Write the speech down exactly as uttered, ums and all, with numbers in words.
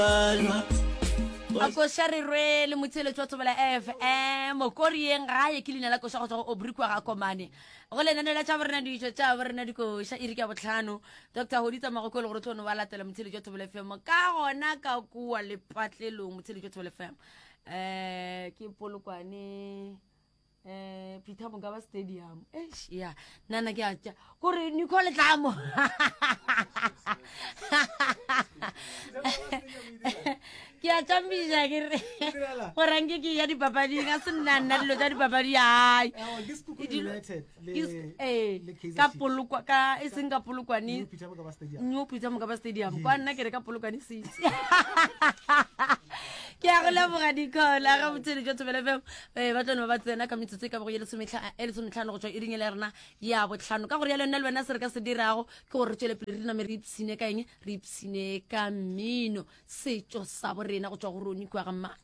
A koša re rwele motheeletši wa Thobela F M Korieng gae ke leina la koša go tšwa go Aubrey kua ga Komane go lenaneo la tša borena dijo tša borena dikoša iri ke ya bohlano. Doctor Hoditsa Magoko e le gore tlo no ba latela motheeletši wa Thobela F M ka gona ka kua lepatlelong. Motheeletši wa Thobela F M, um ke Polokwane, um Peter Mokaba Stadium. Eish, ya nana ke a tša kore Nicole tlamo ke a tšambiša ke re goranke ke ya dipapading a se nna nna dilo tša dipapadi ai. Awa, ke Sekhukhune Dilo- United le- ke s- ee, le Kaizer ka Chiefs. Polokwa ka e seng ka Polokwane. New Peter Mokaba Stadium. New Peter Mokaba Stadium kwa nna ke re ka Polokwane City. Ke a go leboga Nicola ga botsele jwa Thobela F M. um ba tlo no ba tsena ka metsotso e ka bago ye lesometlha- e lesometlhano go tswa iring e le ya rena ya botlhano. Ka gore ya le nna le wena se re ka se dirago ke gore re tswele pele re name re ipshine ka eng? Re ipshine ka mmino setšo sa borena go tswa go Roni kua ga mmane.